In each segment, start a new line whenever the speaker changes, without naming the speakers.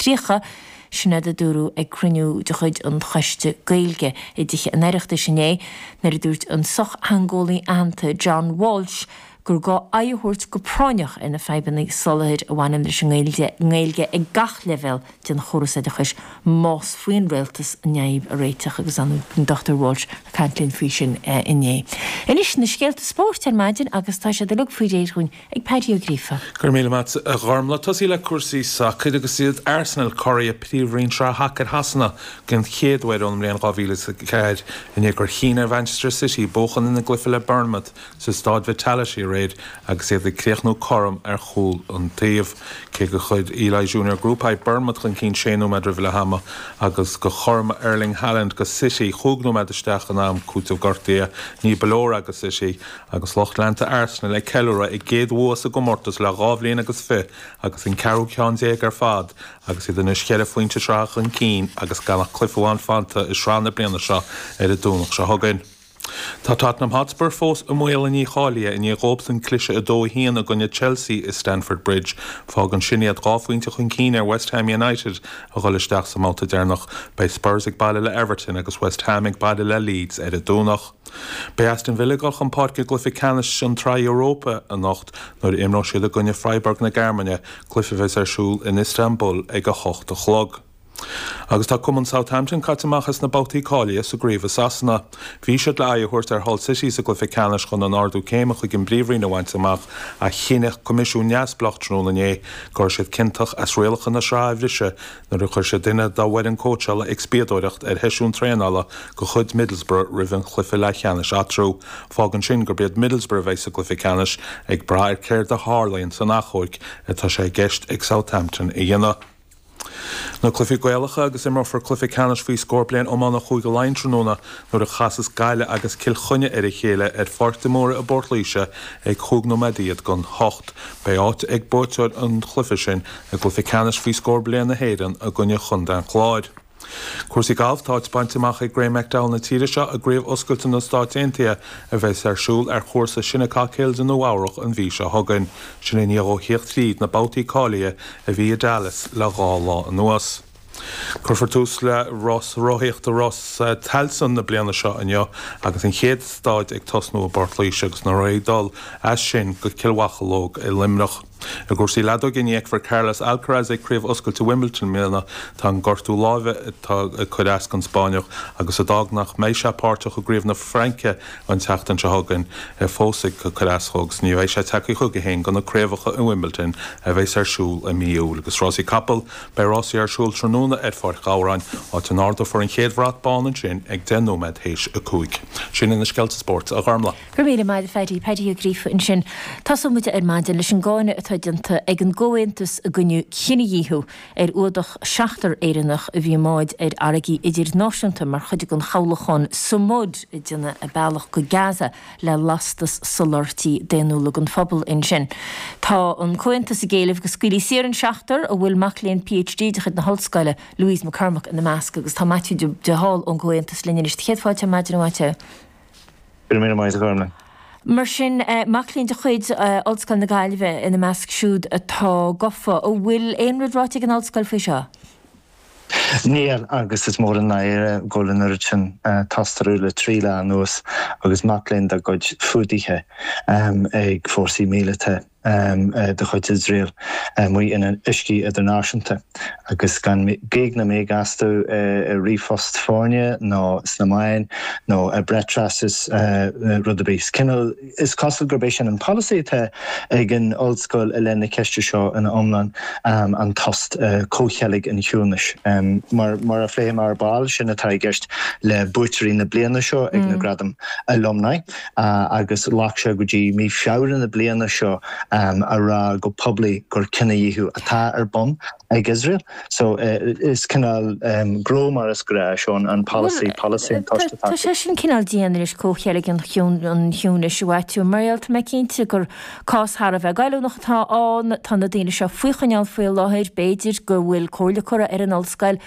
2030, sin rud a dúradh ag cruinniú de chuid an Choiste Gaeilge i dTithe an Oireachtais inné nuair a dúirt an sochtheangeolaí aitheanta John Walsh gur gá aghaidh a thabhairt go práinneach ar na fadhbanna soláthair a bhaineann leis an nGaeilge ag gach leibhéal den chóras oideachais más faoin rialtas an fhadhb a réiteach agus an Dr Walsh ag caint linn faoi sin inné. Anois na scéalta spóirt ar maidin agus tá siad uilig faoi réir dhúinn ag Paddy Ó Gríofa.
Go raibh míle maith a Ghormlaith. Tosaí le cúrsaí sacair agus iad Arsenal curaidh Príomhroinn Sraith Shacair Shasana den chéad uair ón mbliain 2004 i ndiaidh gur chinn ar Mhanchester City buachan ina gcluiche le Bournemouth sa Staid Vitality aréir agus iad ag críochnú cothrom ar chúl an taobh. Cé gur chuir Eli Junior Kroupi Bournemouth chun cinn sé nóiméad roimh leath ama agus gur chothromaigh Erling Haaland go City chúig nóiméad isteach in am cúitimh gortaithe, ní ba leor é go City agus lucht leanta Arsenal ag ceiliúradh a gcéad bhua sa gcomórtas le dhá bhliain agus fi agus an ceathrú ceann déag ar fad agus iad anois cheithre phointe sraithe chun cinn agus gan ach cluiche amháin fanta i sraith na bliana seo ar an Domhnach seo chugainn. Tá Tottenham Hotspur fós i mbaol a ndícháilithe i ndiaidh dhóibhsan cliseadh 2-1 i gcoinne Chelsea i Stamford Bridge. Fágann sin iad dhá phointe chun cinn ar West Ham United a dhul isteach sa mbabhta deireanach. Beidh Spurs ag baile le Everton agus West Ham ag baile le Leeds ar an Domhnach. Beidh Aston Villa ag dul chun páirce i gcluiche ceannais an tSraith Europa anocht nuair a imreoidh siad i gcoinne Freiburg na Gearmáine, cluiche a bheas ar siúl in Istanbul ag a hocht a chlog. Agus tá cumann Southampton caite amach as na babhtaí cáilithe sa gcraobh i Sasana. Bhí siad le aghaidh a thabhairt ar Hull City sa gcluiche ceannais chun an ardú céime chuig an bPríomhroinn a bhaint amach ach chinn coimisiún neamhspleách tráthnóna inné go raibh siad ciontach as rialacha na sraithe a bhriseadh nuair a chuir siad duine dá bhfoireann cóitseála ag spiadóireacht ar sheisiún traenála de chuid Middlesbrough roimh an chluiche leathcheannais eatarthu. Fágann sin gurb iad Middlesbrough a bheidh sa gcluiche ceannais, ag brath ar céard a tharlaíonn san achomharc atá sé i gceist ag Southampton a dhéanamh. Na cluichí Gaelacha agus imreofar cluiche ceannais faoi scór bliain iomána Chúige Laighean tráthnóna nuair a chasas Gaillimh agus Cill Chainnigh ar a chéile ar Pháirc de Mórdha i bPort Laoise ag chúig nóiméad don hocht. Beidh áit ag buaiteoir an chluiche sin i gcluiche ceannais faoi scór bliain na hÉireann i gcoinne Chontae an Chláir. Cúrsaí gailf, Tá áit bainte amach ag Graeme McDowell na tíre seo i gCraobh Oscailte na Stáit Aontaithe a bheas ar siúl ar chúrsa Shinnecock Hills i Nua Eabhrach an mhí seo chugainn. Sin i ndiaidh dhó thíocht thríd na babhtaí cáilithe a bhí i Dallas le dhá lá anuas. Cuirfear tús le rás rothaíochta Rás Tailteann na bliana seo inniu agus an chéad staid ag tosnú i bPort Laoise agus na rothaí ag dul as sin go Cill Mhocheallóg i Luimneach. I gcúrsaí leadóige, ní fheicfear Carlos Alcaraz ag Craobh Oscailte Wimbledon i mbliana. Tá an gortú láimhe atá ag cur as don Spáinneach agus a d'fhág nach mbeidh sé páirteach i gCraobh na Fraince an tseachtain seo chugainn fós ag cur as dhó agus ní bheidh sé tagtha chuige féin do na craobhacha i Wimbledon a bheas ar siúl i mí Iúil. Agus rásaí capall, beidh rásaí ar siúl tráthnóna ar Pháirc Ghabhráin, áit a n-ardófar an chéad bhrat bán ansin ag 10 nóiméad théis 5. Sin iad na scéalta spóirt, a Ghormlaith.
Go raibh míle maith agat a Phaddy, Paddy Ó Gríofa ansin. Tosóidh muid ar maidin leis an gcáineadh atá déanta ag an gComhaontas i gcoinne cinedhíothú ar fhuadach seachtar Éireannach a bhí i mbáid ar fharraigí idirnáisiúnta mar chuid den chabhlachán Sumud ag déanamh a bealach go Gaza le lastas soláthairtí daonnúla don phobal ansin. Tá an Comhaontas ag éileamh go scaoilfí saor an seachtar, a bhfuil mac léinn PhD de chuid na hOllscoile, Louise McCormack ina measc agus tá Maitiú de Hál ón gComhaontas linn anois. Céad fáilte ar maidin a Mhaitiú.
Go raibh míle maith agat a Ghormlaith.
Mar sin, mac léinn de chuid Ollscoil na Gaillimhe ina measc siúd atá gafa. An bhfuil aon rud ráite ag an ollscoil faoi seo?
Níl, agus is mór an náire go bhfuil an oiread sin tostú le trí lá anuas agus mac léinn dá gcuid fuadaithe ag fórsaí míleata. de chuid Iosrael amuigh in uiscí idirnáisiúnta agus gan gíog ná míog astu i ríomhphost foirne nó sna meáin nó i bpreasráitis rud ar bith. Is cineál, is cosúil gurb é sin an polasaí atá ag an ollscoil i leith na ceiste seo ina iomlán, an tost, comhcheilg an chiúnais. Mar mar a phléifidh mé ar ball, sin atá i gceist le buaiteoirí na bliana seo ag na Gradaim Alumni. agus ghlac sé go dtí mí Feabhra na bliana seo a rá go poiblí gur cinedhíothú atá ar bun ag Iosrael. So is cineál gnó mar is gnáth seo an polasaí, polasaí an tost
atá. Tá sé sin cineál dian anois, comhcheilg an chiúnais, a Mhaitiú, mar gheall tá mé cinnte gur cás thar a bheith goilliúnach atá ann, tá na daoine seo faoi choinneáil faoi láthair, b'fhéidir go bhfuil comhairle curtha ar an ollscoil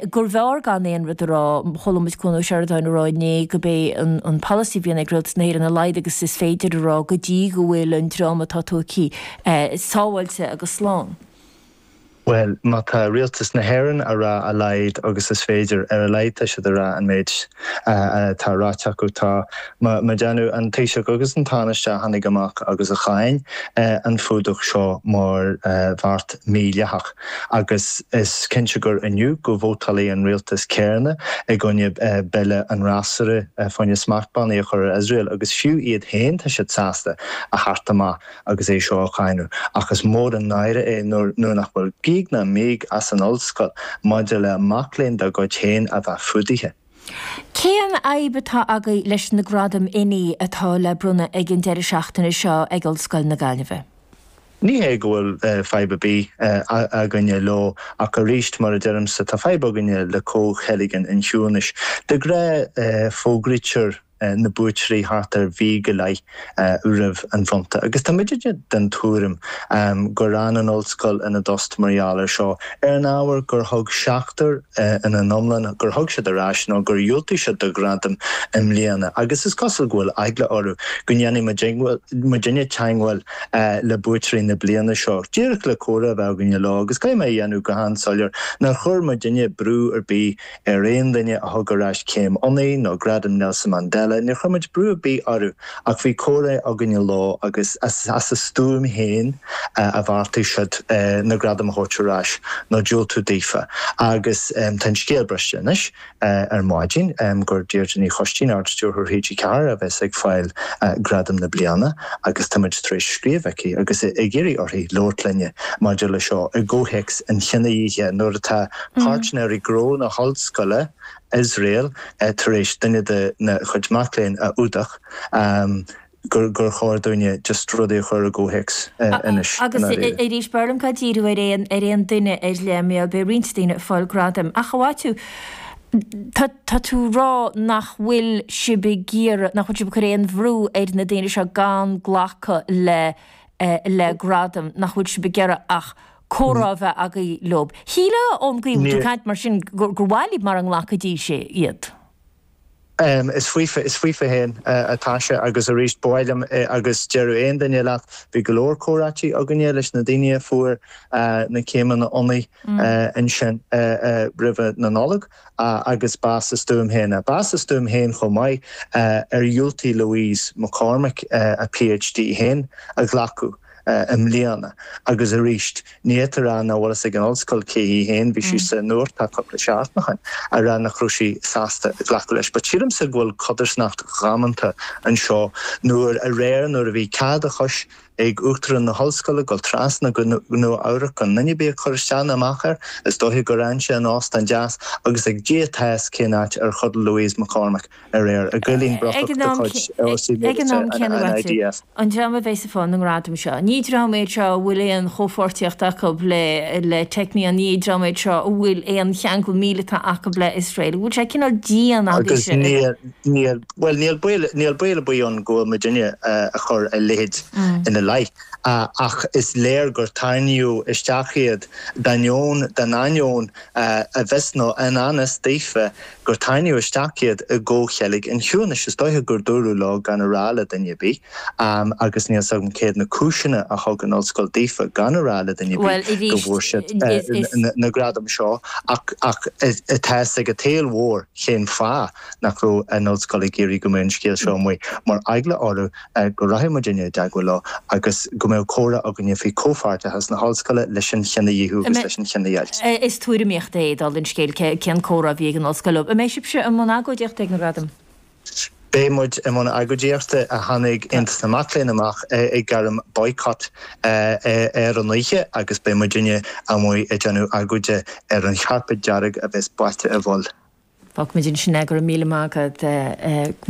gurbh fhearr gan aon rud a rá. Chuala muid Cuan Ó Seireadáin ag rá inné gurb é an polasaí a bhíonn ag Rialtas na hÉireann a laghad agus is féidir a rá go dtí go bhfuil an dream atá tógtha sábháilte agus slán.
Bhuel, má tá Rialtas na hÉireann a rá a laghad agus is féidir, ar a laghad tá siad a rá an méid atá ráite acu. Tá mo déanamh an Taoiseach agus an Tánaiste a tháinig amach agus a cháin an fuadach seo mar bheart mídhleathach. Agus is cinnte gur inniu go vótálfaidh an rialtas céanna i gcoinne bille an fhreasúra fá choinne smachtbhannaí a chur ar Iosrael agus fiú iad féin tá siad sásta a theacht amach agus é seo a cháineadh, ach is mór an náire é nuair nach bhfuil gíog ná míog as an ollscoil maidir le mac léinn dá gcuid féin a bheith fuadaithe.
Cén fhadhb atá agaibh leis na gradaim oinigh atá le bronnadh ag an deireadh seachtaine seo ag Ollscoil na Gaillimhe?
Ní hé go bhfuil fadhb ar bith againne leo, ach arís, mar a deirimse, tá fadhb againne le comhcheilg an chiúnais. De ghnáth, fógraítear na buaiteoirí thart ar mhí go leith roimh an bhronnta. Agus tá muidne den tuairim gur fhan an ollscoil ina dtost mar gheall air seo, ar an ábhar gur thug seachtar ina n-iomlán, gur thug siad ar ais nó gur dhiúltaigh siad do ghradam i mbliana. Agus is cosúil go bhfuil eagla orthu go ndéanfaidh muidinne teagmháil le buaiteoirí na bliana seo, díreach le comhrá a bheith againne leo. Agus caithfidh mé a dhéanamh go han-soiléir nár chuir muidinne brú ar bith ar aon duine a thug ar ais céim oinigh nó Gradam Nelson Mandela, níor chuir muid brú ar bith orthu ach bhí comhrá againne leo agus as a stuaim féin a bheartaigh siad na gradaim a thabhairt ar ais nó diúltú daofa. Agus tá an scéal briste anois ar maidin gur Deirdre Ní Choistín, Ard-Stiúrthóir TG4 a bheas ag fáil Gradam na bliana agus tá muid tar éis scríobh chuici agus ag iarraidh uirthi labhairt linne maidir le seo i gcomhthéacs an chinedhíothaithe nuair atá Páirtnéirí gnó na hollscoile, Iosrael, tar éis duine de na chuid mac léinn a fhuadach, gur chóir dúinne just rudaí a chur i gcomhthéacs anois,
i
Agus
ndáiríre. arís, b'fhearr liom gan díriú ar aon ar aon duine ar leith, mar beidh roinnt daoine ag fáil gradaim. Ach a Mhaitiú, tá tá tú ag rá nach bhfuil sibh ag iarraidh, nach bhfuil sibh ag cur aon bhrú ar na daoine seo gan glacadh le le gradam, nach bhfuil sibh ag iarraidh ach comhrá a bheith agaibh leob. Shílfeá ón gcaoi a bhfuil tú ag caint mar sin gur mhaith libh mara nglacfaidís iad.
Is faofa, is faofa féin atá sé agus arís ba mhaith liom agus déarfadh aon duine leat, bhí go leor comhráití againne leis na daoine a fuair na céimeanna oinigh ansin roimhe na Nollag agus b'as a stuaim féin. B'as a stuaim féin chomh maith ar dhiúltaigh Louise McCormick a PhD féin a ghlacadh. i mbliana. Agus arís, ní fhéadfá a rá nach bhfuil fhios ag an ollscoil cé hí féin, bhí sí sa nuacht cúpla seachtain ó shin, a rá nach raibh sí sásta glacadh leis. But sílimse go bhfuil codarsnacht dhamanta anseo nuair aréir nuair a bhí cead a chois ag Uachtarán na hOllscoile dul trasna go Nua Eabhrac gan duine ar bith ag cur isteach ná amach air, is dóiche gur fhan sé in óstán deas agus ag Dia atá fhios cén áit ar chodail Louise McCormick. aréir, i gcoillín brocach de chuid fhórsaí
Ag an
míleata
am céanna,
an
Mhaitiú,
IDF.
an dream a bheas ag fáil na ngradam seo, ní dream iad seo a bhfuil aon chomhpháirtíocht acu le le Technion, ní dream iad seo a bhfuil aon cheangal míleata acu le Iosrael. An bhfuil sé cineál dian
Agus
agaibhse?
níl, níl, bhuel, níl baol, níl baol ar bith ann go bhfuil muidinne a chur a leithéid ina leith. Ach is léir gur tarraingíodh isteach iad d'ainneoin, dá n-ainneoin i bhfios nó i ngan fhios daofa gur tarraingíodh isteach iad i gcomhcheilg an chiúnais. Is dóiche gur dúradh leo gan a rá le duine ar bith, agus níl 's agam céard na cúiseanna a thug an ollscoil daofa gan a rá le duine ar
Bhuel,
bith go
arís,
bhfuair siad
is, is.
na gradaim seo, ach ach tá fhios ag an tsaol mhór cén fáth nach raibh an ollscoil ag iarraidh go mbeadh an scéal seo amuigh, mar eagla orthu go rachadh muidinne i dteagmháil leo agus go mbeadh comhrá againne faoi chomhpháirteachas na hollscoile leis an chinedhíothú agus leis an chinedheighilt.
Is tuairimíocht é dála an scéil cén comhrá a bhí ag an ollscoil leo. An mbeidh sibhse i mbun agóidíochta ag na gradaim?
Beidh muid i mbun agóidíochta. Tháinig Aontas na Mac Léinn amach ag gairm boycott ar an oíche agus beidh muidinne amuigh ag déanamh agóide ar an chairpéad dearg a bheas báite i bhfuil.
Fágfaimid ansin é. Go raibh míle maith agat,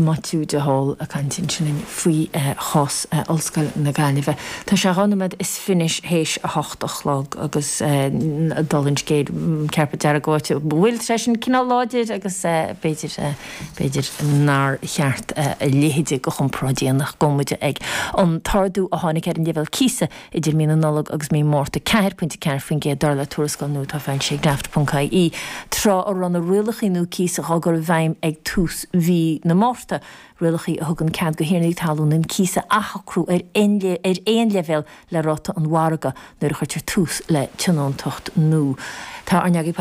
Maitiú de Hál ag caint ansin faoi chás Ollscoil na Gaillimhe. Tá sé 2 nóiméad is fiche théis a hocht a chlog agus dála an scéil, cairpéad dearg báite i bhfuil, tá sé sin cineál láidir agus b'fhéidir, b'fhéidir nár cheart a leithéid de chomparáid a dhéanamh. Gabhfaidh muid ag an t-ardú a tháinig ar an leibhéal cíosa Idir mí na Nollag agus mí Márta, 4.4% dar le tuarascáil nua atá foilsithe ag Daft.ie. Tráth a raibh na rialacha nua cíosa. cíosa dhá gcur i bhfeidhm ag tús mhí na Márta, rialacha a thugann cead do thiarnaí talún an cíos a athshocrú ar aon leibhéal le ráta an mhargaidh nuair a chuirtear tús le tionóntacht nua. Tá ár n-eagraí.